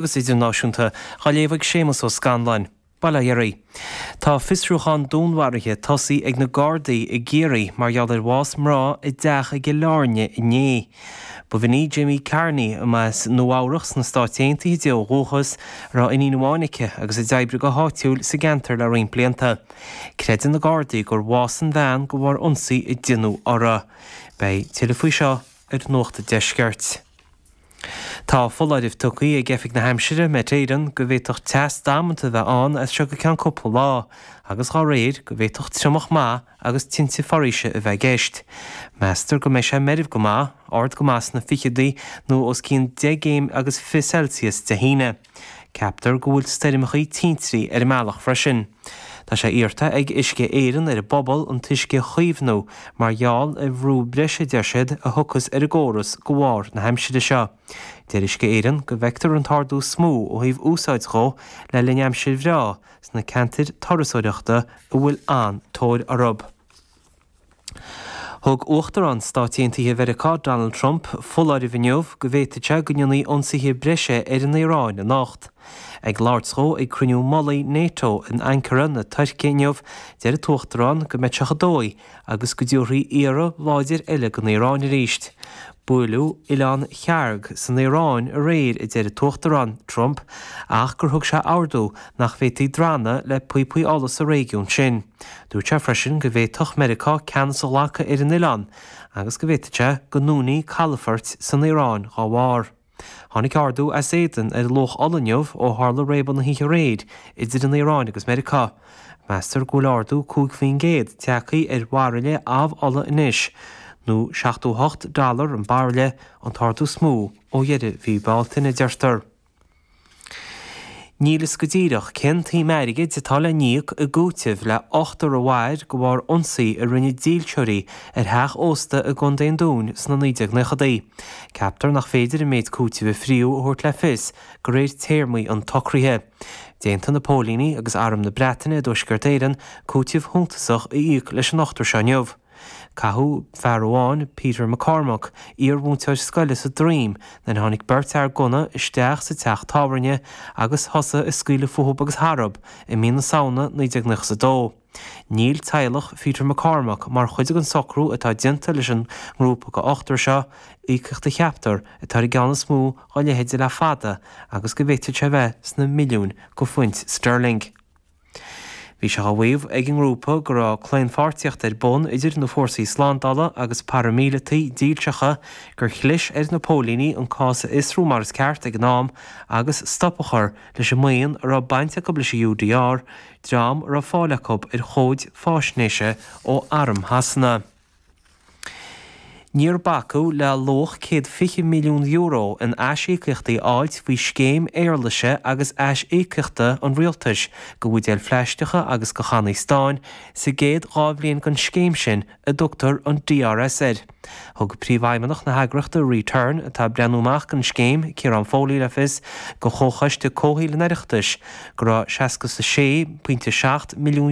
Agus Idirnáisiúnta, á léamh ag Séamus Ó Scanláin. Bail ó Dhia oraibh. Tá fiosrúchán dúnmharaithe tosaithe ag na Gardaí i gCiarraí mar gheall ar bhás mná i dteach i gCill Airne inné. Ba bhean í Jamie Carney, a mba as Nua Eabhrach sna Stáit Aontaithe di ó dhúchas, a raibh iníon amháin aici agus a d'oibrigh go háitiúil sa gceantar le roinnt blianta. Creideann na Gardaí gur bhásaigh an bhean de bharr ionsaí a deineadh uirthi. Beidh tuilleadh faoi seo ar Nuacht an Deiscirt. Tá foláireamh tugtha ag Oifig na hAimsire, Met Éireann, go bhféadfadh teas damanta a bheith ann as seo go ceann cúpla lá agus dhá réir go bhféadfadh triomach maith agus tinte foraoise a bheith i gceist. Meastar go mbeidh sé meirbh go maith, ard go maith sna ficheadaí nó os cionn 10 gcéim agus 20 Celsius Dé hAoine. Ceaptar go bhfuil stoirmeachaí tintrí ar an mbealach freisin. Tá sé iarrta ag Uisce Éireann ar an bpobal an t-uisce a chaomhnú mar gheall ar bhrú breise a deir siad a thiocfas ar an gcóras de bharr na haimsire seo. Deir Uisce Éireann go bhfeictear an t-ardú is mó ó thaobh úsáid dhó le linn aimsir bhreá sna ceantair turasóireachta a bhfuil an-tóir orthu. Thug Uachtarán Stáit Aontaithe Mheiriceá Donald Trump foláireamh inniu go bhféadfadh sé go ndéanfaí ionsaithe breise ar an Iaráin anocht. Ag labhairt dhó ag cruinniú mullaigh Nato in Ankara na Tuirce inniu, deir an tUachtarán go mbeidh sé chomh dóigh agus go dtabharfaí iarraidh láidir eile don Iaráin arís. Buaileadh Oileán Kharg san Iaráin aréir, a deir an tUachtarán Trump, ach gur thug sé ordú nach bhféadfaí drannadh le píopaí ola sa réigiún sin. Dúirt sé freisin go bhféadfadh Meiriceá ceannas a ghlacadh ar an oileán agus go bhféadfadh sé go ndúnfaí calafoirt san Iaráin dá bharr. Tháinig ardú as éadan ar luach ola inniu ó tharla réabadh na hoíche aréir idir an Iaráin agus Meiriceá. Meastar go bhfuil ardú 5% tagtha ar bhairille amh-ola anois, nó 78 dollar an bairille, an t-ardú is mó ó dheireadh mhí Bealtaine, a deirtear. Níl fhios go díreach cén tsuim airgid atá le n-íoc i gcúiteamh le ochtar a mhair de bharr ionsaí a rinne dílseoirí ar theach ósta i gContae an Dúin sna 1990idí. Ceaptar nach féidir an méid cúitimh a fríodh a thabhairt le fios de réir téarmaí an tsocraithe. D'aontaigh na póilíní agus Arm na Breataine i dTuaisceart Éireann cúiteamh shuntasach a íoc leis an ochtar seo inniu. Caitheadh fear amháin, Peter McCormack, iar-mhúinteoir scoile sa droim nuair a tháinig beirt fhear gunna isteach sa teach tábhairne agus thosaigh ag scaoileadh fúthub agus tharthub i mí na Samhna 1992. Níl teaghlach Pheter McCormack mar chuid den socrú atá déanta leis an ngrúpa de ochtar seo, íocaíocht a cheaptar atá ar an gceann is mó dá leithéid le fada agus go bhféadfadh sé a bheith sna milliúin de phuint sterling. Bhí sé á mhaíomh ag an ngrúpa go raibh claonpháirtíocht ar bun idir na fórsaí slándála agus paraimíleataigh dílseacha, gur chlis ar na póilíní an cás a fhiosrú mar is ceart ag an am agus stop a chur leis an mbuíon a raibh baint acu leis an UDR, dream a raibh fáil acu ar chomhaid faisnéise ó arm Shasana. Níor bacadh le luach €120 milliún in aisíocaíochtaí a fháilt faoi scéim éarlaise agus aisíocaíochta an rialtais do bhuidéil phlaisteacha agus do channaí stáin sa gcéad 2 bhliain den scéim sin a dtugtar an DRS air. Thug Príomhfheidhmeannach na heagraíochta Return, atá ag breathnú amach don scéim, Ciarán Foley le fios do Chomhchoiste Comhshaoil an Oireachtais go raibh €66.7 milliún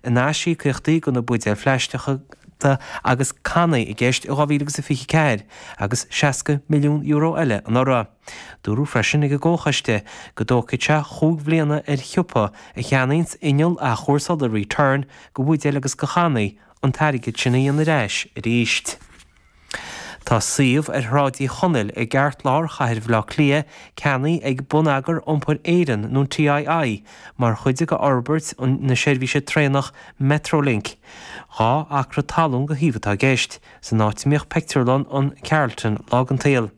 in aisíocaíochtaí do na buidéil phlaisteacha agus cannaí i gceist i 2024 agus €60 milliún eile anuraidh. Dúradh freisin ag an gComhchoiste go dtógfaidh sé chúig bhliana ar shiopa a cheannaíonns inneall athchúrsála Return do bhuidéil agus do channaí an t-airgead sin a dhéanamh ar ais arís. Tá suíomh ar Shráid Uí Chonaill i gceartlár chathair Bhaile Átha Cliath ceannaithe ag Bonneagar Iompair Éireann nó an TII mar chuid de fhorbairt na seirbhíse traenach Metrolink. 2 acra talún go shuíomh atá i gceist, san áit a mbíodh pictiúrlann an Carlton lá den tsaol.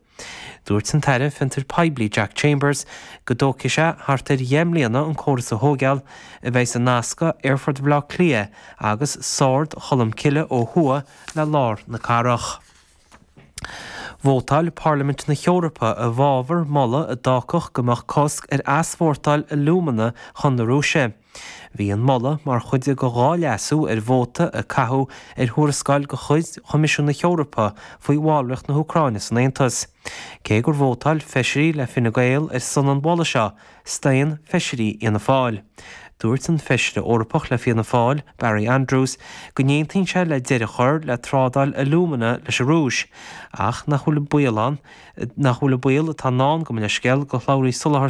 Dúirt an tAire Fiontair Poiblí Jack Chambers go dtógfaidh sé thart ar dheich mbliana an córas a thóigeáil, a bheidh ag nascadh Aerfort Bhaile Átha Cliath agus Sord Cholm Cille ó thuaidh le lár na cathrach. Vótáil Parlaimint na hEorpa i bhfabhar moladh a d'fhágfadh go mbeadh cosc ar easpórtáil alúmana chun na Rúise. Bhí an moladh mar chuid de 2 leasú ar vóta a caitheadh ar thuarascáil de chuid Choimisiún na hEorpa faoi bhallraíocht na hÚcráine san Aontas. Cé gur vótáil feisirí le Fine Gael ar son an mholaidh seo, staon feisirí Fhianna Fáil. Dúirt an Feisire Eorpach le Fianna Fáil, Barry Andrews, go n-aontaíonn sé le deireadh a chur le trádáil alúmana leis an Rúis, ach nach bhfuil baol ann nach bhfuil an baol atá i ndán, gabh mo leithscéal, go shlabhraí soláthair.